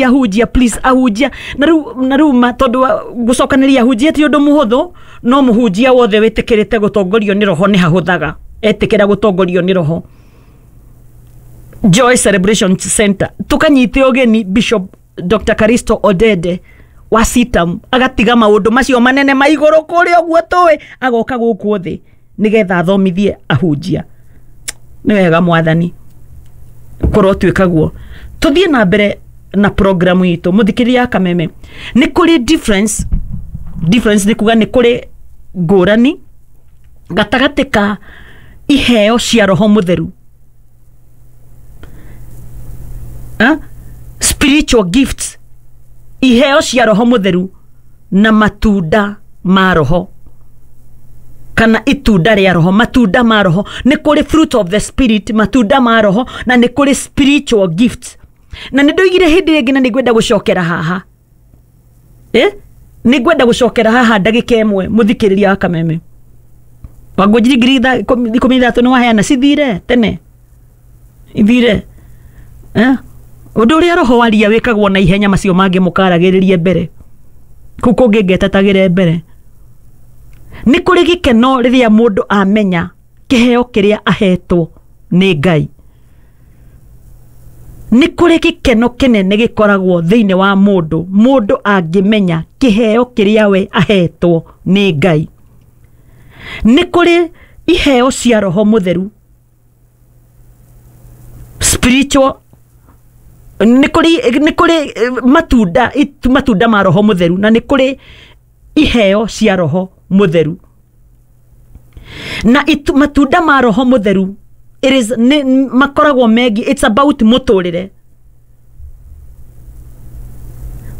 Ahunjia, please, ahunjia na rĩu ma tondũ gũcokanĩria ahunjia ti ũndũ mũhũthũ, no mũhunjia wothe wĩtĩkĩrĩte gũtongorio nĩ roho nĩ hahũthaga etĩkĩra gũtongorio nĩ roho. Joy Celebration Center tukanyite ũgeni Bishop Dr. Caristo Odede wa CITAM, agatiga maũndũ macio manene ma igũrũ kũrĩa ũguo tũĩ, agoka gũkũ thĩ nĩgetha athomithie ahunjia. Nĩ wega mwathani kũrotuĩka guo. Tũthiĩ na mbere na programu itũ. Mũthikĩria ya Kameme, nĩ kũrĩ difference. Difference nĩ kuga nĩ kũrĩ ngũrani gatagatĩ ka iheo cia roho mũtheru, spiritual gifts, iheo cia roho mũtheru na matunda ma roho kana itunda rĩa roho, matunda ma roho. Nĩ kũrĩ fruit of the spirit, matunda ma roho, na nĩ kũrĩ spiritual gifts. Na nĩ ndoigire hĩndĩ ĩngĩ na nĩ ngwenda gũcokera haha, nĩ ngwenda gũcokera haha ndagĩka ĩmwe. Mũthikĩrĩria wa Kameme, wangũnjiri 13,000 nĩ waheana, cithire tene ithire, eh? Ũndũ ũrĩa roho waria wĩkagwo na ihenya, macio mangĩ mũkaragĩrĩrie mbere kũu kũngĩ ngetetagĩre mbere. Nĩ kũrĩ gĩkeno rĩrĩa mũndũ amenya kĩheo kĩrĩa ahetwo nĩ Ngai. Nĩ kũrĩ gĩkeno kĩnene gĩkoragwo thĩinĩ wa mũndũ, mũndũ angĩmenya kĩheo kĩrĩa we ahetwo nĩ Ngai. Nĩ kũrĩ iheo cia roho mũtheru, spiritual, nĩ kũrĩ matunda, matunda ma roho mũtheru, na nĩ kũrĩ iheo cia roho mũtheru. Na matunda ma roho mũtheru, it is nĩ makoragwo megiĩ, it's about mũtũrĩre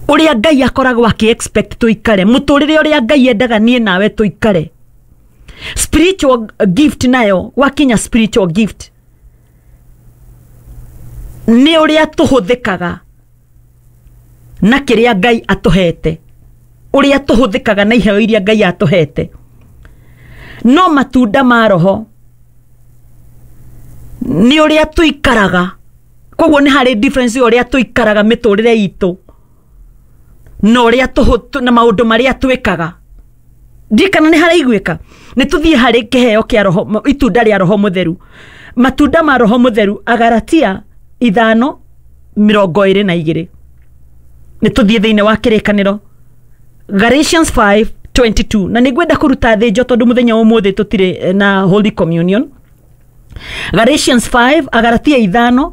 ũrĩa Ngai akoragwo akĩ expect tũikare, mũtũrĩre ũrĩa Ngai endaga niĩ nawe tũikare. Spiritual gift nayo, wakinya spiritual gift, nĩ ũrĩa tũhũthĩkaga na kĩrĩa Ngai atũhete, ũrĩa tũhũthĩkaga na iheo iria Ngai atũhete. No matunda ma roho nĩ ũrĩa tũikaraga. Koguo nĩ harĩ difference ya ũrĩa tũikaraga mĩtũrĩre itũ na ũrĩa na maũndũ marĩa twĩkaga. Ndikana nĩ haraiguĩka. Nĩ tũthiĩ harĩ kĩheo kĩa roho, itunda rĩa roho mũtheru, matunda ma roho mũtheru, Agaratia 5:22. Nĩ tũthiĩ thĩinĩ wa kĩrĩkanĩro, Galatians 5:22, na nĩ ngwenda kũruta thĩnjo tondũ mũthenya wa ũmũthĩ tũtirĩ na Holy Communion. Galatians 5, Agaratia 5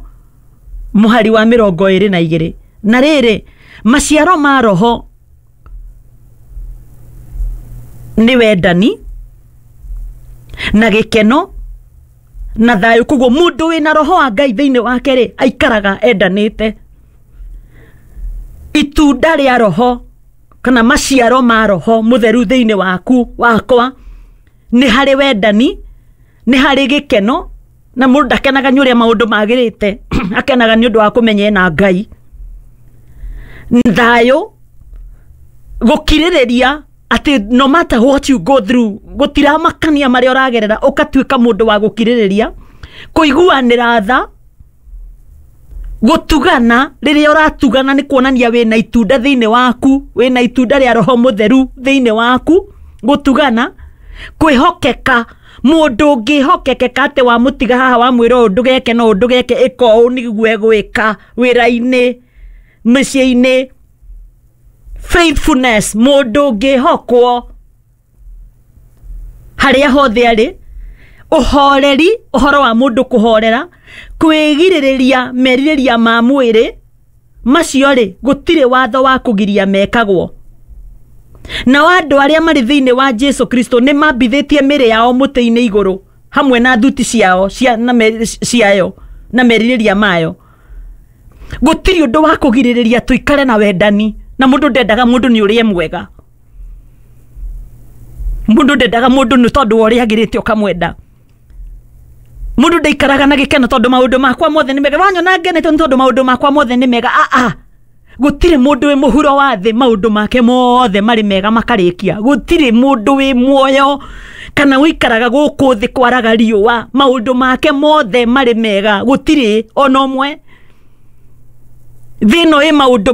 mũhari wa 22. Na rĩrĩ, maciaro ma roho nĩ wendani na gĩkeno na thayũ. Koguo mũndũ wĩna roho wa Ngai thĩinĩ wake rĩ, aikaraga endanĩte. Itunda rĩa roho kana maciaro ma roho mũtheru thĩinĩ waku wakwa nĩ harĩ wendani, nĩ harĩ gĩkeno. Na mũndũ ndakenaga nĩ ũrĩa maũndũ magĩrĩte, akenaga nĩ ũndũ wa kũmenya ena Ngai. Thayũ, gũkirĩrĩria atĩ no matter what you go through, gũtiramakania marĩa ũragerera, ũgatuĩka mũndũ wa gũkirĩrĩria, kũiguanĩra tha, gũtugana. Rĩrĩa ũratugana nĩ kuonania wĩna itunda thĩinĩ waku, wĩna itunda rĩa roho mũtheru thĩinĩ waku. Gũtugana, kwĩhokeka, mũndũ ũngĩhokekeka atĩ wamũtiga haha wamwĩra ũũ ndũgeke no ũũ ndũgeke, ĩka ũũ nĩguo egwĩka, wĩra-inĩ, mĩciĩ-inĩ. Faithfulness, mũndũ ũngĩhokwo harĩa hothe arĩ. Ũhoreri, ũhoro wa mũndũ kũhorera, kwĩgirĩrĩria merirĩria ma mwĩrĩ. Macio rĩ, gũtirĩ watho wa kũgiria mekagwo. Nao andũ arĩa marĩ thĩinĩ wa Jesu Kristo nĩ mambithĩtie mĩrĩ yao mũtĩ-inĩ igũrũ hamwe na thuti ciao cia, na ciayo na merirĩria mayo. Gũtirĩ ũndũ wa kũgirĩrĩria tũikare na wendani. Na mũndũ ndendaga mũndũ nĩ ũrĩa mwega, mũndũ ndendaga mũndũ nĩ tondũ wa ũrĩa agĩrĩte ũkamwenda. Mũndũ ndaikaraga na gĩkeno tondũ maũndũ makwa mothe nĩ mega, wanyona ngenete nĩ tondũ maũndũ makwa mothe nĩ mega. Ah ah, gũtirĩ mũndũ wĩ mũhuro wa thĩ maũndũ make mothe marĩ mega makarĩkia. Gũtirĩ mũndũ wĩ muoyo kana ũikaraga gũkũ thĩ kwaraga riũa maũndũ make mothe marĩ mega, gũtirĩ ona ũmwe. Thĩ ĩno ĩ maũndũ.